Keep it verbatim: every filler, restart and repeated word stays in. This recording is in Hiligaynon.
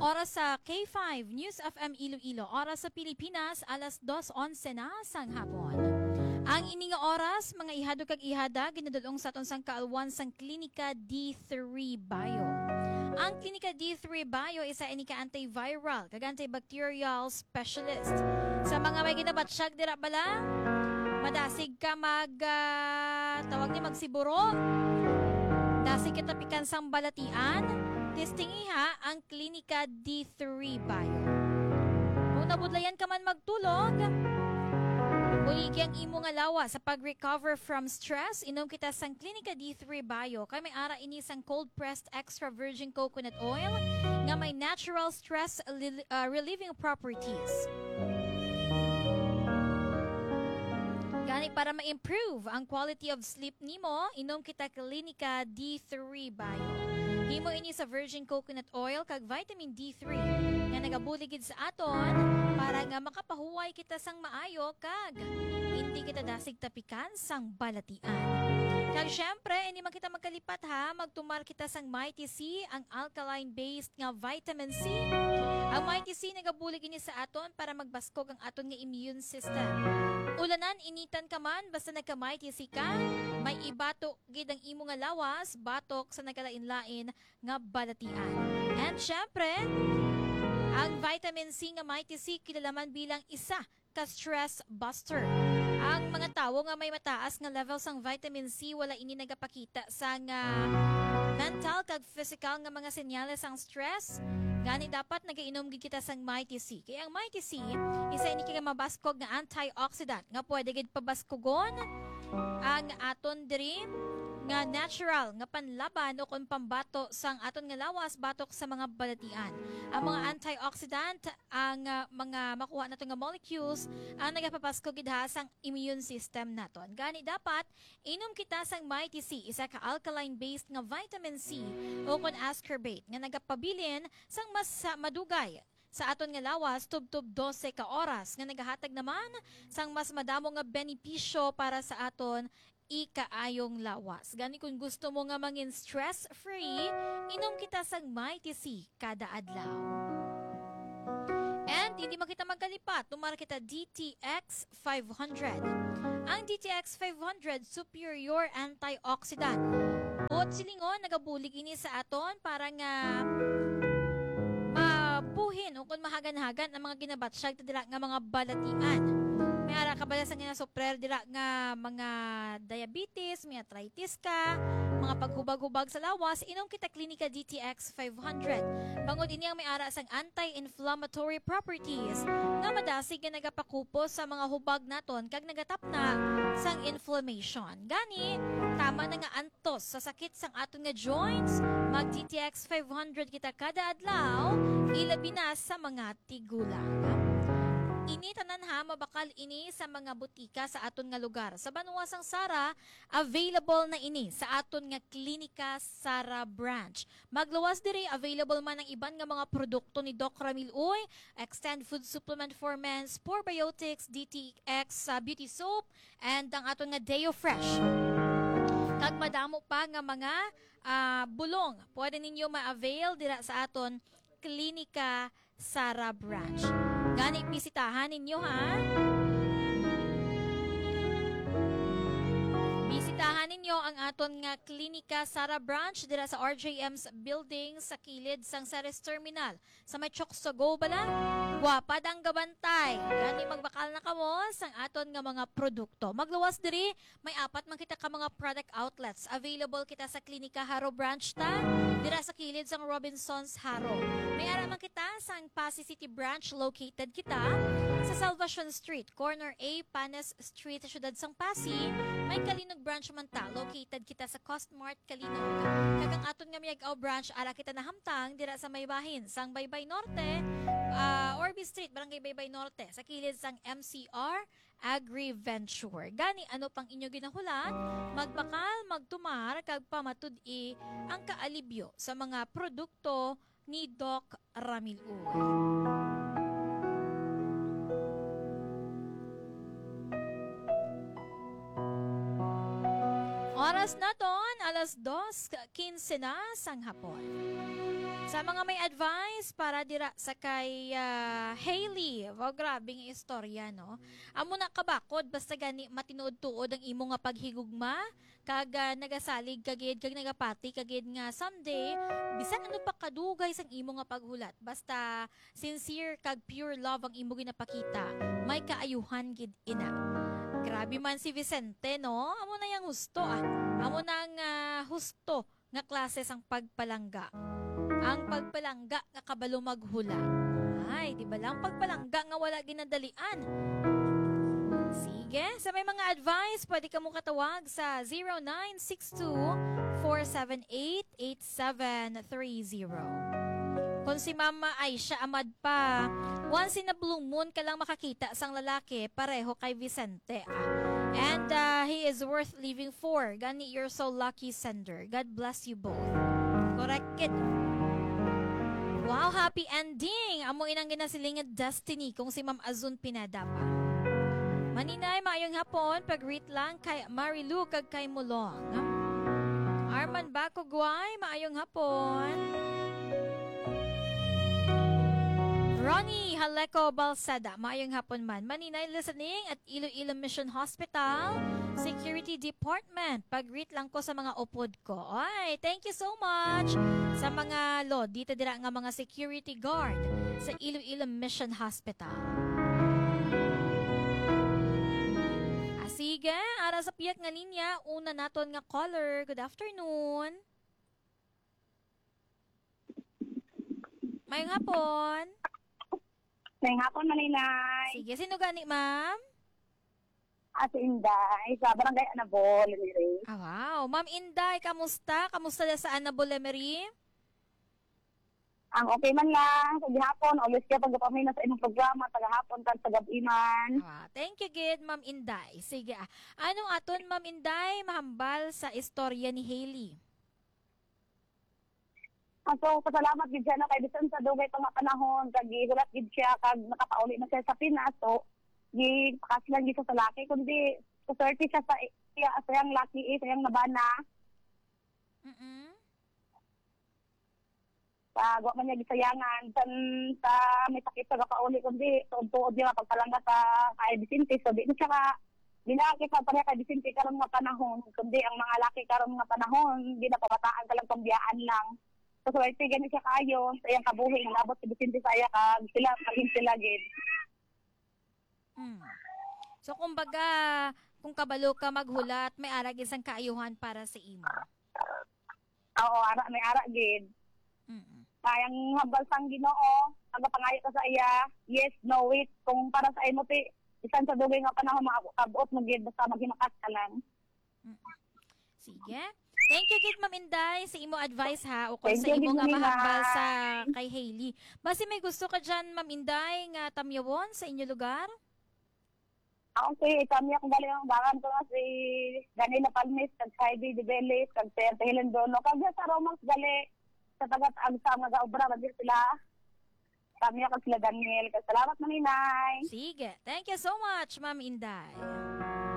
Oras sa K five News F M Iloilo, oras sa Pilipinas, alas dos onse na sang hapon. Ang ini nga oras, mga ihado kag ihada, ginadul-ong sa aton sang kaalwan sang Klinika D three Bio. Ang Klinika D three Bio isa ini ka antiviral kag antibacterial specialist. Sa mga may ginabatsyag dira bala, madasig ka mag, ah, tawag ni, magsiburo. Dasig kita pikan sang balatian. Testingiha ang Klinika D three Bio. Kung nabudlayan ka man magtulog, buligi ang imo nga lawas sa pag-recover from stress. Inom kita sang Klinika D three Bio. Kay may ara ini sang cold-pressed extra virgin coconut oil nga may natural stress rel-, ah, relieving properties. Gani, para ma-improve ang quality of sleep nimo, inom kita Klinika D three Bio. Himo ini sa virgin coconut oil kag vitamin D three nga nagabulig gid sa aton para nga makapahuway kita sang maayo kag hindi kita dasig tapikan sang balatian. Kag syempre, hindi man kita magkalipat ha, magtumar kita sang Mighty C, ang alkaline-based nga vitamin C. Ang Mighty C nagabulig ini sa aton para magbaskog ang aton nga immune system. Ulanan, initan ka man, basta nagka-Mighty C ka, may ibato gid ang imo nga lawas batok sa nagkalain-lain nga balatian. And syempre, ang vitamin C nga Mighty C kilala man bilang isa ka stress buster. Ang mga tawo nga may mataas nga level sang vitamin C, wala ini nagapakita sang, ah, mental kag physical nga mga senyales sang stress. Gani, dapat nagainom gid kita sang Mighty C. Kay ang Mighty C, isa ini ka mabaskog nga antioxidant nga pwede gid pabaskugon ang aton diri nga natural nga panlaban o kon pambato sang aton nga lawas batok sa mga balatian. Ang mga antioxidant, ang, ah, mga makuha nato nga molecules ang nagapapaskog gid ha sang immune system naton. Gani, dapat inom kita sang Mighty C, isa ka alkaline-based nga vitamin C o kon ascorbate nga nagapabilin sang mas, ah, madugay sa aton nga lawas tubtob dose ka oras, nga nagahatag naman sang mas madamo nga benepisyo para sa aton ikaayong lawas. Gani, kung gusto mo nga mangin stress-free, inom kita sang Mighty C kada adlaw. And hindi man kita magkalipat, tumar kita D T X five hundred. Ang D T X five hundred, superior antioxidant. Buot silingon, nagabulig ini sa aton para nga mabuhin o kung mahagan-hagan ang mga ginabatsyag ta dira nga mga balatian. May ara ka bala sa nga sufrer dira nga mga diabetes, may arthritis ka, mga paghubag-hubag sa lawas, inom kita Klinika D T X five hundred. Bangod ini ang may ara sang anti-inflammatory properties nga madasig nga nagapakupos sa mga hubag naton kag nagatapna sang inflammation. Gani, tama na nga antos sa sakit sang aton nga joints, mag D T X five hundred kita kada adlaw, ilabi na sa mga tigulang. Ini tanan ha, mabakal ini sa mga butika sa aton nga lugar. Sa banwa sang Sara, available na ini sa aton nga Klinika Sara Branch. Magluwas diri, available man ang iban nga mga produkto ni Doc Ramil Uy, Extend Food Supplement for Men's, Probiotics, D T X, ah, Beauty Soap, and ang aton nga Deo Fresh. Kag madamo pa nga mga, ah, bulong pwede ninyo ma-avail dira sa aton Klinika Sara Branch. Gani, bisitahan ninyo, ha? Bisitahan ninyo ang aton nga Klinika Sara Branch dira sa R J M's building sa kilid sang Ceres Terminal. Sa may Choksogo bala, gwapa dang gabantay. Gani, magbakal na kamo sang aton nga mga produkto. Magluwas diri, may apat man kita ka mga product outlets. Available kita sa Klinika Jaro Branch ta, dira sa kilid sang Robinsons Jaro. May ara man kita sang Passi City Branch, located kita sa Salvacion Street, corner A Panes Street, siyudad sang Passi. May Calinog Branch man ta, located kita sa Costmart Calinog. Kag ang aton nga Miag-ao Branch, ara kita nahamtang dira sa may bahin sang Baybay Norte, ah, Orbe Street, Barangay Baybay Norte, sa kilid sang M C R Agriventure. Gani, ano pang inyo ginahulat? Magbakal, magtumar, kag pamatud-i ang kaalibyo sa mga produkto ni Doc Ramil Uy. Oras naton, alas dos quince na sang hapon. Sa mga may advice para dira sa kay, ah, Hailey. Wow, grabe nga istorya, no? Amo na kabakod, basta gani matinuod-tuod ang imo nga paghigugma, kag, ah, nagasalig ka gid, kag nagapati ka gid nga someday, bisan ano pa kadugay sang imo nga paghulat, basta sincere kag pure love ang imo ginapakita, may kaayuhan gid ina. Grabe man si Vicente, no? Amo na yang husto, ah. Amo na ang, ah, husto nga klase sang pagpalangga. Ang pagpalangga nga kabalo maghula. Ay, di ba lang pagpalangga nga wala ginadalian? Sige, sa may mga advice, pwede ka mo katawag sa zero nine six two, four seven eight, eight seven three zero. Kung si Mama Aisha Amad pa, once in a blue moon ka lang makakita sang lalaki pareho kay Vicente, ah. And, ah, he is worth living for. Gani, you're so lucky, sender. God bless you both. Correct gid. Wow, happy ending. Amo inang ginasiling nga destiny kung si Ma'am Azun Pineda pa. Maninay, maayong hapon. Pag-greet lang kay Marilu kag kay Mulong. Arman Bakugway, maayong hapon. Ronnie Haleco Balsada, maayong hapon man. Maninay listening at Iloilo Mission Hospital Security Department. Pag-greet lang ko sa mga upod ko. Ay, thank you so much sa mga lodi ta dira nga mga security guard sa Iloilo Mission Hospital. Ah, sige, ara sa pihak nga linya, una naton nga caller. Good afternoon. Mayong hapon. Mayong hapon, Maninay. Sige, sino gani, ma'am? Ah, si Inday, sa Barangay Anabol, Lemery. Ah, wow. Ma'am Inday, kamusta? Kamusta na sa Anabol, Lemery? Ang okay man lang, sa gihapon, always ka pagpamina sa imong programa, tagahapon kag tagab-i man. Ah, thank you gid, Ma'am Inday. Sige, ah. Anong aton, Ma'am Inday, mahambal sa istorya ni Hailey? Ah, so, pasalamat gid siya na kay bisan sa dugay pa nga panahon, kag gihulat gid siya, kag nakapauli na siya sa Pinas. So, gipakas lang gid siya sa laki, kundi swerte siya sa iya, sa iyang laki, eh, sa iyang nabana. Mm-mm. Pag wa man niya gisayangan, san sa may sakit sa gapauli, kundi tuod-tuod niya pagpalangga sa kay Vicente. So, di na siya ka, di na kita pareha kay Vicente karon nga panahon, kundi ang mga laki karon nga panahon, di na, kabataan ka lang, pambiyaan lang. So, swerte gani siya kayo sa iyang kabuhi, naabot si Vicente sa iya, kag sila, kag sila gid. Mm. So, kumbaga, kung kabalo ka maghulat, may ara gid sang kaayuhan para sa imo. Oo, ara, may ara gid. Mm. Kay ang hambal sang Ginoo, magapangayo ka sa iya, yes, no, wait. Kung para sa imo, ti, bisan sa dugay nga panahon, maabot mo gid, basta maghimakat ka lang. Mm. Sige. Thank you gid, Ma'am Inday, sa imo advice, ha, ukon Thank sa you, imo nga Nina. Mahambal sa kay Hailey. Basi may gusto ka dyan, Ma'am Inday, nga tamyawon sa inyo lugar? Ah, okay, kami ang gali ang bangan ko nga si Danilo Palmis, kag Heidi Dibelis, kag Sir Helen Dono, kag sa Romax gali sa taga Agsa nga gaobra ba sila. Kami ako sila Daniel. Kag salamat, Maninay. Sige. Thank you so much, Ma'am Inday.